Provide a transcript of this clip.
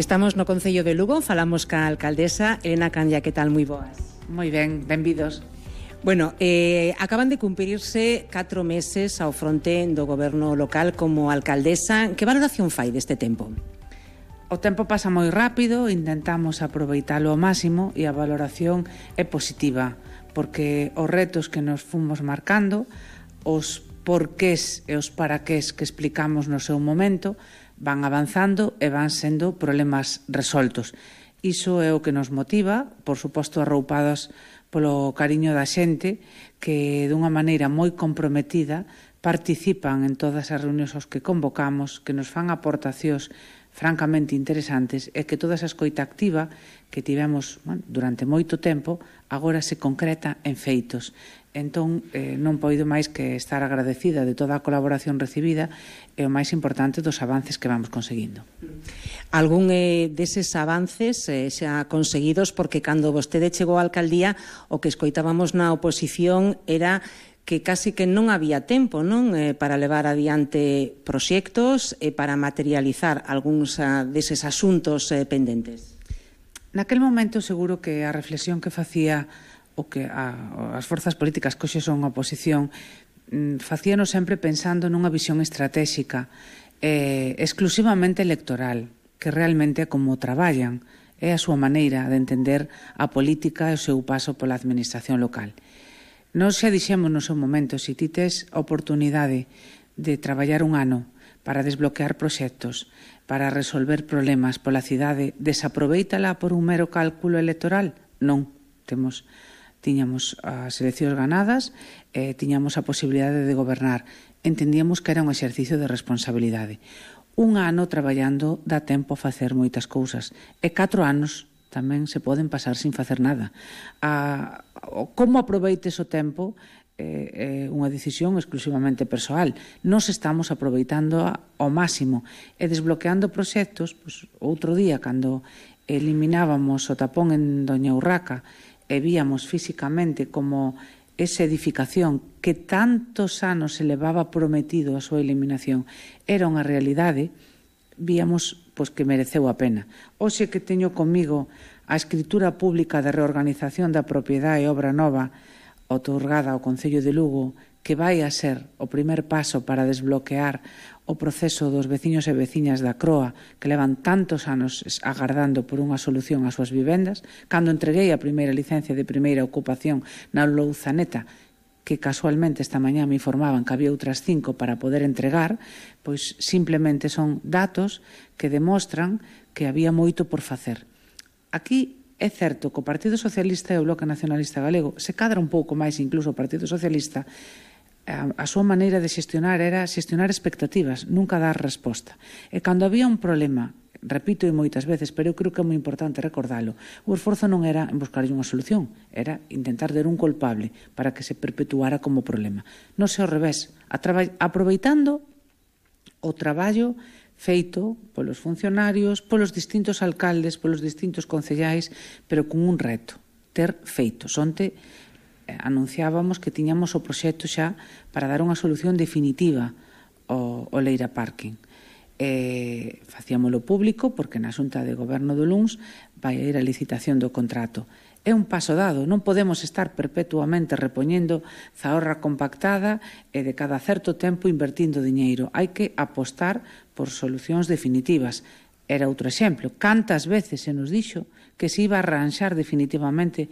Estamos no Concello de Lugo, falamos ca alcaldesa Elena Candia, que tal? Moi boas. Moi ben, benvidos. Bueno, acaban de cumprirse 4 meses ao fronte do goberno local como alcaldesa. Que valoración fai deste tempo? O tempo pasa moi rápido, intentamos aproveitalo ao máximo e a valoración é positiva, porque os retos que nos fomos marcando, os porqués e os paraqués que explicamos no seu momento, van avanzando e van sendo problemas resoltos. Iso é o que nos motiva, por suposto arroupados polo cariño da xente que dunha maneira moi comprometida participan en todas as reunións aos que convocamos, que nos fan aportacións francamente interesantes e que toda esa escoita activa que tivemos durante moito tempo agora se concreta en feitos. Entón, non poido máis que estar agradecida de toda a colaboración recibida e o máis importante dos avances que vamos conseguindo. Algún deses avances xa conseguidos, porque cando vostede chegou á alcaldía o que escoitábamos na oposición era que casi que non había tempo, non, para levar adiante proxectos e para materializar algúns deses asuntos pendentes. Naquel momento seguro que a reflexión que facía o que as forzas políticas que hoxe son oposición facíanos sempre pensando nunha visión estratégica exclusivamente electoral, que realmente é como traballan, é a súa maneira de entender a política e o seu paso pola administración local. Nós xa dixemos no seu momento, se ti tes a oportunidade de traballar un ano para desbloquear proxectos, para resolver problemas pola cidade, desaproveítala por un mero cálculo electoral? Non, tiñamos as eleccións ganadas, tiñamos a posibilidade de gobernar. Entendíamos que era un exercicio de responsabilidade. Un ano traballando dá tempo a facer moitas cousas. E 4 anos tamén se poden pasar sin facer nada. Como aproveites o tempo é unha decisión exclusivamente persoal. Nos estamos aproveitando ao máximo e desbloqueando proxectos. Outro día, cando eliminábamos o tapón en Doña Urraca e víamos físicamente como esa edificación que tantos anos se levaba prometido a súa eliminación era unha realidade, víamos que mereceu a pena. Hoxe que teño comigo a escritura pública de reorganización da propiedade e obra nova outorgada ao Concello de Lugo, que vai a ser o primer paso para desbloquear o proceso dos veciños e veciñas da Croa, que levan tantos anos agardando por unha solución ás súas vivendas. Cando entreguei a primeira licencia de primeira ocupación na Louzaneta, que casualmente esta mañá me informaban que había outras 5 para poder entregar, pois simplemente son datos que demostran que había moito por facer. Aquí é certo que o Partido Socialista e o Bloque Nacionalista Galego se cadra un pouco máis incluso o Partido Socialista. A súa maneira de xestionar era xestionar expectativas, nunca dar resposta. E cando había un problema, repito moitas veces, pero eu creo que é moi importante recordalo, o esforzo non era en buscar unha solución, era intentar ter un culpable para que se perpetuara como problema. Non sei ao revés, aproveitando o traballo feito polos funcionarios, polos distintos alcaldes, polos distintos concellais, pero con un reto, ter feitos. Onte anunciábamos que tiñamos o proxecto xa para dar unha solución definitiva ao Leira Parking. Facíamolo público porque na Xunta de Goberno do Luns vai ir a licitación do contrato. É un paso dado, non podemos estar perpetuamente repoñendo zaorra compactada e de cada certo tempo invertindo diñeiro. Hai que apostar por solucións definitivas. Era outro exemplo. Cantas veces se nos dixo que se iba a arranxar definitivamente